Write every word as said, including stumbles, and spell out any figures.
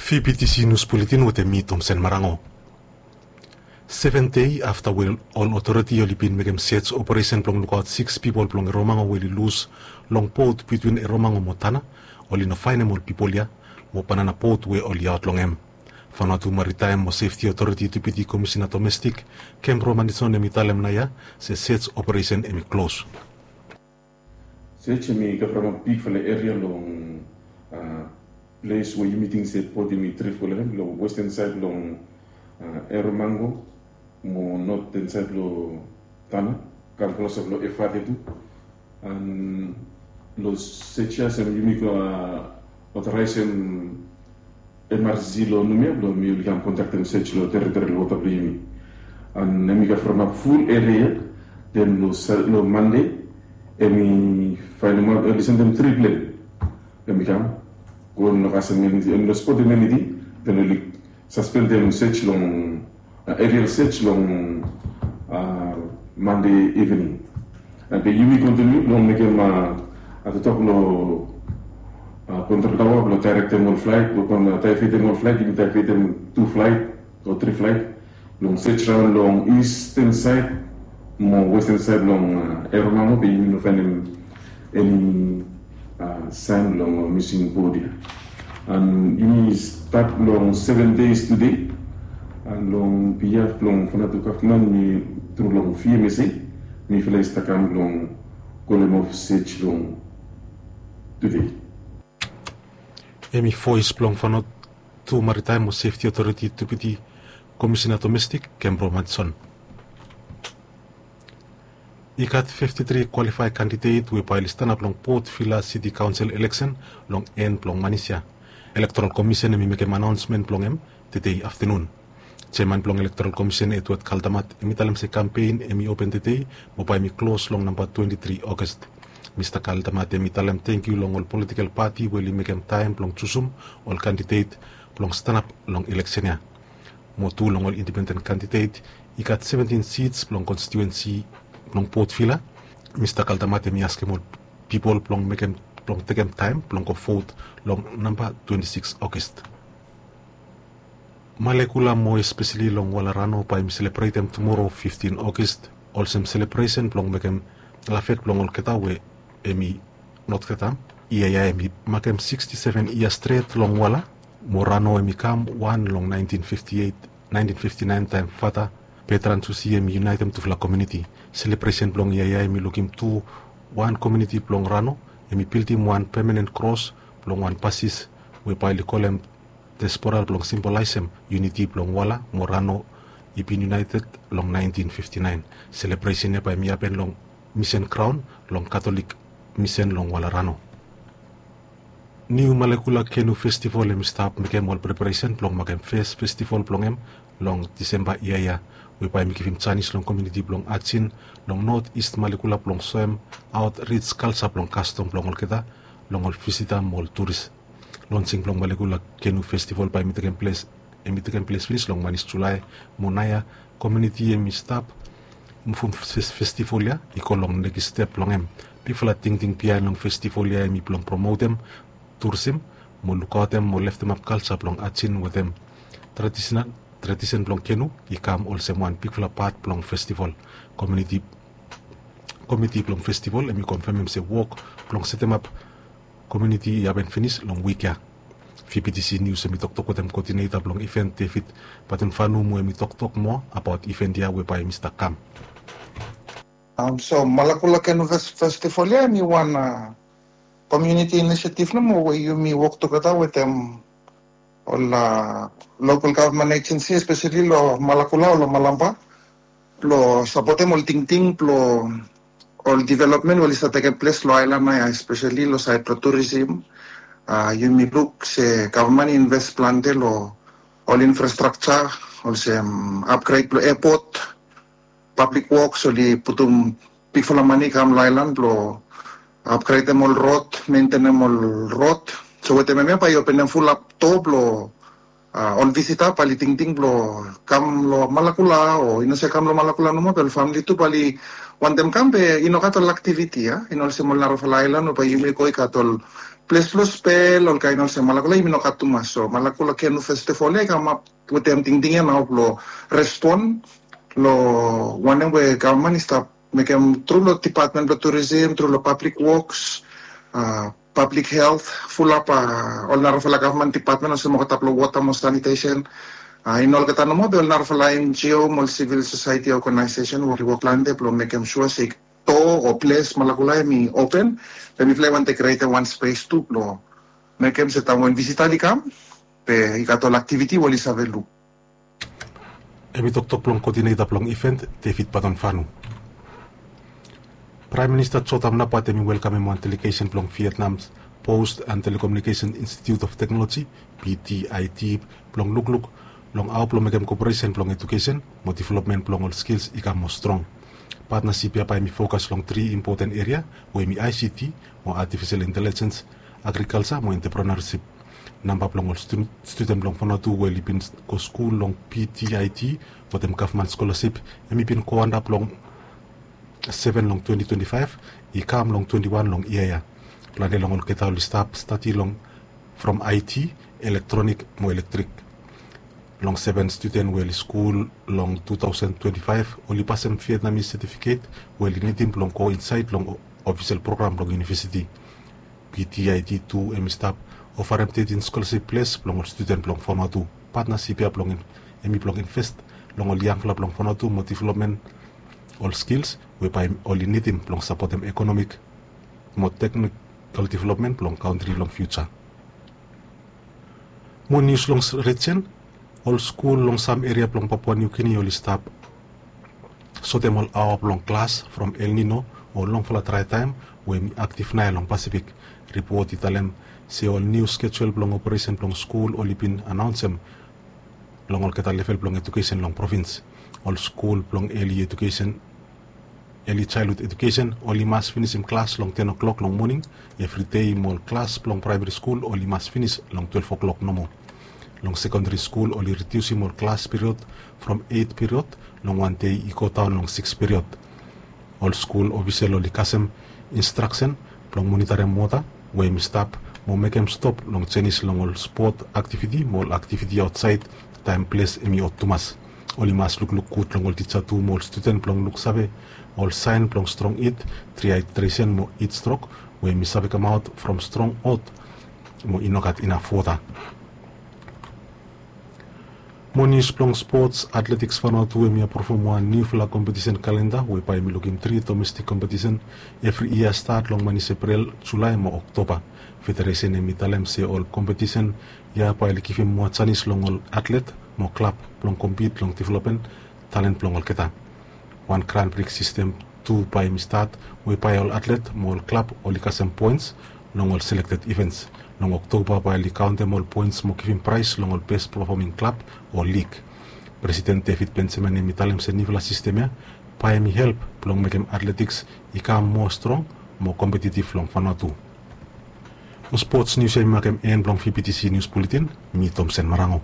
Fibitisi nius buletin wetem mi Tomsen Marango. Seven dei afta we ol otoriti oli bin mekem sej operesen blong lukaot siks pipol blong Eromango we oli lus long bot bitwin Eromango mo Tana, oli no faenem ol pipol ya mo banana bot we oli aot long hem. Vanuatu Maritaem mo Sefti Otoriti Depiti Komisina Domestik Kem Romanison hem i talem naoia se sej operesen hem i klos. Sej hem i kavremap bigfala eria long ples we yumi ting se bot hem i drif olsem long westen saed long Eromango mo noten saed long Tana, kam klosap long Efate tu. An long sej ya sem yumi go otoraesem emerjensi long Numea blong mi oli kam kondaktem sej long teritorial wota blong yumi. An hem i kavremap ful eria ya. Den long Mande hem i faenemaot oli sendem tri plen. Hem i kam go long kasem eniti, long spotem eniti. Den oli saspendem sej long aerial sej long Mande ivening. Be yumi kontiniu blong mekem a toktok long kontrol taoa blong daerektem ol flaet o kon daevetem ol flaet, yumi daevetem tu flaet o tri flaet blong sej raon long isten saed mo westen saed long Eromango, be yumi no faenem eni saen blong mising bot ya. An yumi stat long seven days tude. An long biaf blong Vanuatu gavman mi tru long V M S A mifala i stap kam blong kolem of sej long tude. Hem i voes blong Vanuatu Maritaem mo Sefti Otoriti Depiti Komisina Domestik Kem Romanison. I gat fifti tri kwalifaed kandidet we bae oli stanap long Port Vila Siti Kaonsel eleksen long en blong manis ya. Elektoral Komisen hem i mekem anaonsmen blong hem tede aftanun. Jeaman blong Elektoral Komisen Edward Kaldamat hem i talem se kampen hem i open tede mo bae hem i klos long namba twenti tri Oges. Mista Kaldamat hem i talem tangkiu long ol politikel pati we oli mekem taem blong jusum ol kandidet blong stanap long eleksen ya. Mo tu long ol indipenden kandidet, i gat seventin sits blong konstitiuensi blong Port Vila. Mista Kaldamat hem i askem ol pipol blong mekem, blong tekem taem blong go vot long namba twenti sikis Oges. Malekula mo espeseli long Walarano bae hem i selebretem tumoro fiftin Oges olsem selebresen blong mekem lavet blong olgeta we hem i notgeta. Yia ya hem i makem siksti seven yia stret long Wala mo Rano hem i kam wan long naentin fifti eit, naentin fifti naen taem fata Betran Susi hem i yunaetem tufala komuniti. Selebresen blong yia ya hem i lukim tu wan komuniti blong Rano hem i bildim wan pemanen kros blong wan basis we bae oli kolem diaspora blong simbolaesem yuniti blong Wala mo Rano i bin yunaeted long naentin fifti naen. Selebresen ya bae hem i hapen long misen graon long Katolik misen long Walarano. Niu Malekula Kenu Festival hem i stap mekem ol preparesen blong makem fes festival blong hem long Disemba yia ya, we bae hem i givim janis long komuniti blong Ajin long Not Ist Malekula blong soemaot rij kalja blong kastom blong olgeta long ol visita mo ol turis. Lonsing blong Malekula Kenu Festival bae hem i tekem ples, hem i tekem ples finis long manis Julae, mo naoia komuniti hem i stap muvum festival ya i go long nekis step blong hem. Bigfala tingting biaen long festival ya hem i blong promotem turisim mo lukaotem mo leftemap kalja blong Ajin wetem tradisen, tradisen blong Kenu i kam olsem wan bigfala pat blong festival. Komuniti, komiti blong festival hem i konfemem se wok blong setemap komuniti i hapen finis long wik ya. V B T C News hem i toktok wetem koodineta blong iven David Batemfanu mo hem i toktok moa abaot iven ya we bae hem i stap kam. So Malakula Kenu Festival ya hem i wan komuniti inisiativ nomo we yumi wok tugeta wetem ol lokal gavman ejensi espeseli long Malakula o long Malampa blong sapotem ol tingting blong ol developmen we oli stap tekem ples long aelan ya espeseli long saed blong turisim. Yumi luk se gavman i inves plante long ol infrastrakja olsem apgred blong epot, pablik woks oli putum bigfala mane i kam long aelan blong apgredem ol rod, mentenem ol rod. So wetem hemia bae i openem fulap doa blong ol visita bae oli tingting blong kam long Malakula o i no save kam long Malakula nomo be ol famili tu bae oli wantem kam be i no gat ol aktiviti ya, i no olsem ol narafala aelan we bae yumi go i gat ol ples blong spel, ol kaen olsem Malakula i bin no gat tumas. So Malakula Canoe Festival ya i kamap wetem tingting ya nao blong respon long wanem we gavman i stap mekem tru long dipatmen blong turisim, tru long pablik woks, a, pablik helt, fulap, a, ol narafala gavman dipatmen olsem olgeta blong wota mo sanitesen. A, i no olgeta nomo, be ol narafala N G O mo ol sivil sosaeti oganaesesen we oli wok plante blong mekem sua se do o ples Malakula hemi open, be mifala i wantem krietem wan spes tu blong mekem se taem we visita oli kam, be i gat ol aktiviti we oli save luk. Hemi toktok blong koodineta blong iven, David Baton Fanu. Praem Minista Jotham Napat hemi welkamem wan delegesen blong Vietnam Post and Telecommunication Institute of Technology, V T I T, blong lukluk long hao blong mekem koperesen blong ejukesen mo developmen blong ol skils i kam moa strong. Patnasip ya bae hemi fokas long tri impoten eria we hemi I C T mo artificial intelligence, agrikalja mo entrepreneurship. Namba blong ol stu-, studen blong Vanuatu we oli bin go skul long V T I T wetem gavman skolasip, hemi bin go antap long seven long twenty twenty-five, i kam long twenty-one long yia ya. Plante long olgeta oli stap stadi long from I T, elektronik mo elektrik. Long seven studen we oli skul long two thousand twenty-five, oli pasem Vietnamese setifiket we oli nidim blong go insaed long o-, ofisel program blong univesiti. V T I T tu hemi stap ofarem tetin skolasip ples blong ol studen blong Vanuatu. Patnasip ya blong hem, hemi blong invest long ol yangfala blong Vanuatu mo developmen ol skils we bae oli nidim blong sapotem ekonomik mo teknikol developmen blong kantri long fiuja. Moa nius long s-, rijen, ol skul long sam eria blong Papua New Guinea oli stap sotem ol aoa blong klas from El Nino o longfala drae taem we hemi aktif naoia long Pasifik. Ripot i talem se ol niu skejul blong operesen blong skul oli bin anaonsem long olgeta level blong ejukesen long provins. Ol skul blong eli ejukesen, eli jaelhud ejukesen, oli mas finisim klas long ten o'clock long moning evri dei, mo ol klas blong praemari skul oli mas finis long twelve o'clock nomo. Long sekondari skul oli ridiusim ol klas period from eit period long wan dei i go daon long sikis period. Ol skul ofisel oli kasem instraksen blong monitarem wota we hemi stap mo mekem stop long jenis long ol spot aktiviti mo ol aktiviti aotsaed taem ples hemi hot tumas. Oli mas lukluk gud long ol tija tu mo ol studen blong luksave ol saen blong strong hit, dihydresen mo hitstrok we hemi save kamaot from strong hot mo i no gat inaf wota. Moa nius blong spots, Athletics Vanuatu hemi apruvum wan niufala kompetisen kalenda we bae hemi lukim tri domestik kompetisen evri yia stat long manis Epril, Julae mo Oktoba. Federesen hemi talem se ol kompetisen ya bae oli givim moa janis long ol atlet mo klab blong kompit long developmen talen blong olgeta. Wan Grand Prix sistem tu bae hemi stat we bae ol atlet mo ol klab oli kasem poens long ol selekted ivens. Long Oktoba bae oli kaontem ol poens mo givim praes long ol bes pefoming klab o lig. Presiden David Benjamin hemi talem se niufala sistem ya bae hemi help blong mekem atletiks i kam moa strong mo kompetitiv long Vanuatu. Long spots nius ya hemi makem en blong V B T C Nius Buletin. Mi Tomsen Marango.